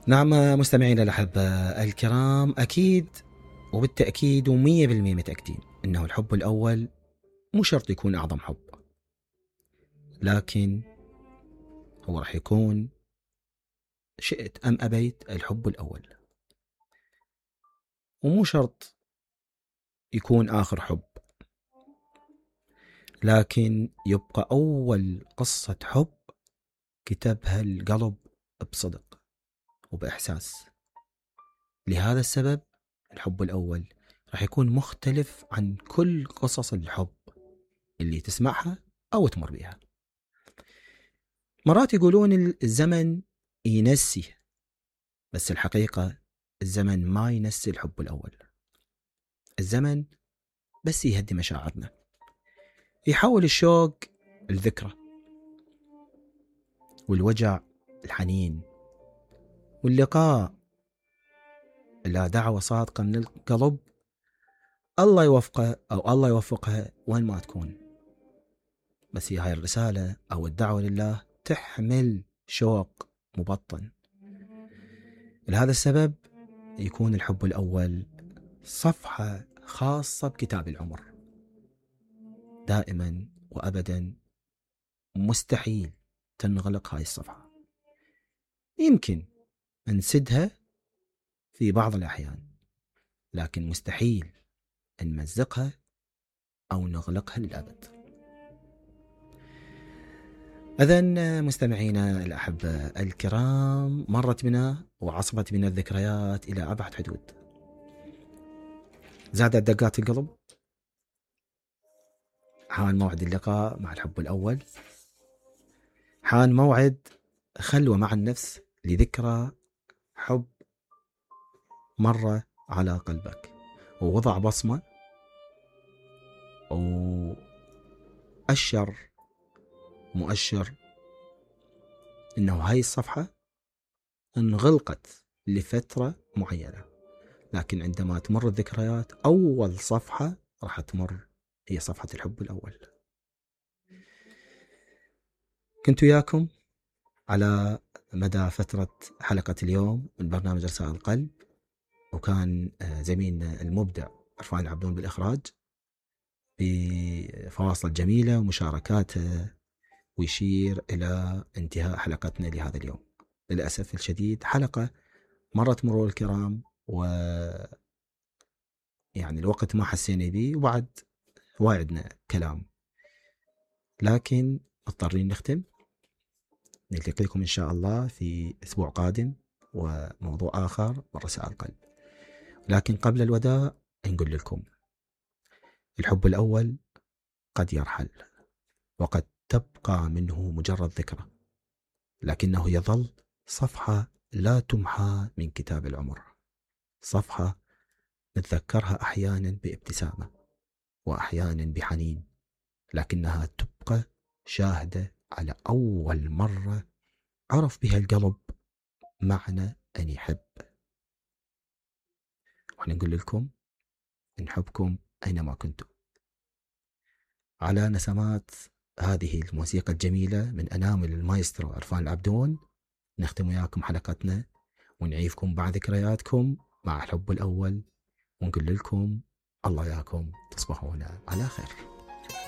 نعم مستمعينا الأحبة الكرام، أكيد وبالتأكيد و100% متأكدين أنه الحب الأول مو شرط يكون أعظم حب، لكن هو راح يكون شئت أم أبيت الحب الأول، ومو شرط يكون آخر حب، لكن يبقى أول قصة حب كتبها القلب بصدق وبإحساس. لهذا السبب الحب الأول راح يكون مختلف عن كل قصص الحب اللي تسمعها أو تمر بها. مرات يقولون الزمن ينسي، بس الحقيقة الزمن ما ينسي الحب الأول. الزمن بس يهدي مشاعرنا، يحول الشوق الذكرى، والوجع الحنين، واللقاء لا دعوة صادقة من القلب. الله يوفقه أو الله يوفقها وين ما تكون، بس هي هاي الرسالة أو الدعوة لله تحمل شوق مبطن. لهذا السبب يكون الحب الأول صفحة خاصة بكتاب العمر. دائما وأبدا مستحيل تنغلق هاي الصفحة، يمكن نسدها في بعض الأحيان، لكن مستحيل نمزقها أو نغلقها للأبد. إذن مستمعينا الأحبة الكرام، مرت بنا وعصبت بنا الذكريات إلى أبعد حدود، زادت دقات القلب، حان موعد اللقاء مع الحب الأول، حان موعد خلوة مع النفس لذكرى حب مرة على قلبك ووضع بصمة وأشر مؤشر إنه هاي الصفحة انغلقت لفترة معينة، لكن عندما تمر الذكريات أول صفحة راح تمر هي صفحة الحب الأول. كنت وياكم على مدى فترة حلقة اليوم من برنامج رسائل القلب، وكان زميلنا المبدع عرفان العبدون بالإخراج بفواصل جميلة ومشاركاته، ويشير إلى انتهاء حلقتنا لهذا اليوم. للأسف الشديد حلقة مرت مرور الكرام، ويعني الوقت ما حسينا به، وبعد واعدنا كلام، لكن مضطرين نختم. نلتقيكم إن شاء الله في أسبوع قادم وموضوع آخر من رسائل القلب، لكن قبل الوداع نقول لكم الحب الأول قد يرحل، وقد تبقى منه مجرد ذكرى، لكنه يظل صفحة لا تمحى من كتاب العمر، صفحة نتذكرها أحيانا بابتسامة وأحيانا بحنين، لكنها تبقى شاهدة على أول مرة عرف بها القلب معنى أن يحب. ونقول لكم نحبكم أينما كنتم. على نسمات هذه الموسيقى الجميلة من أنامل المايسترو عرفان العبدون نختم وياكم حلقتنا، ونعيفكم بعد ذكرياتكم مع الحب الأول، ونقول لكم الله ياكم تصبحون على خير.